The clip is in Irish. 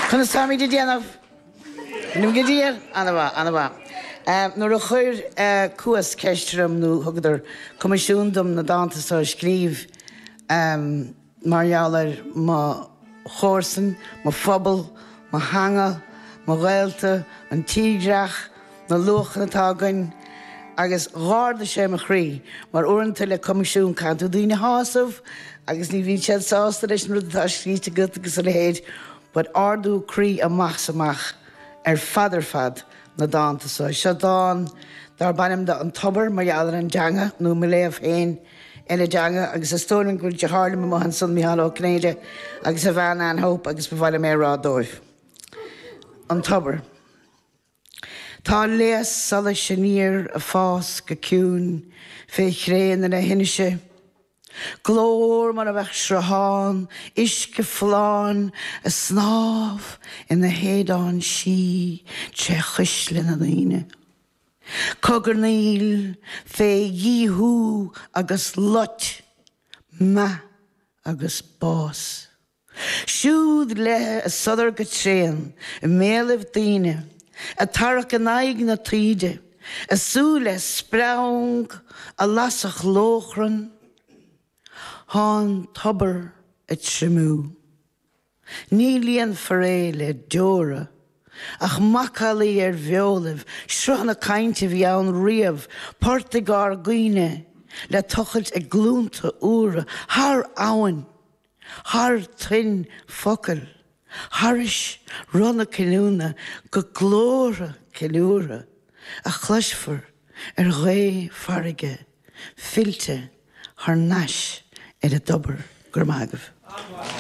Conas táimid ag déanamh? Nó go diail? Ana-mhaith, ana-mhaith. Nuair a chuir Cuas ceist orm, nó thugadar coimisiún dom na dánta so a scríobh mar gheall ar mo chomharsain, mo phobal, mo theanga, mo ghaolta, an tírdhreach, na luachanna atá againn agus dh'ardaigh sé mo chroí mar uaireanta le coimisiún caitheann tú daoine a shásamh agus ní bhíonn siad sásta leis an rud atá scríte agat agus a leithéid but ardú croí amach 's amach ar fad ar fad na dánta so. Seo dán darb ainm do An Tobar mar gheall ar an dteanga nó mo léamh féin ar an dteanga agus is dóigh liom go bhfuil deartháir liom amuigh ansan, Micheál Ó Cinnéide agus a bhean Ann Hope agus ba mhaith liom é a rá dóibh. An Tobar. Tá léas solais aniar ag fás go ciúin fé chré na leithinse. Glór mar a bheadh sruthán uisce folláin ag snámh ina shéideán sí tré chuisle na ndaoine. Cogarnaíl fé dhíothú agus loit, meath agus bás. Siúd léi a sodar go tréan i mbéalaibh daoine, ag tarrac in aghaidh na taoide, a súile spreang a lasfadh lóchrann. Thá an tobar ag triomú. Ní líonfar é le deora, ach macallaí ar bheolaibh, sruthanna cainte a bhí ann riamh, portaigh ár gcuimhne le tochailt ag glúnta úra thar abhainn. Thar toinn focail, thairis roth na cinniúna go glórtha ceiliúrtha a chloisfear ar ghaoth farraige fillte thar n-ais ar an dtobar. Go raibh maith agaibh.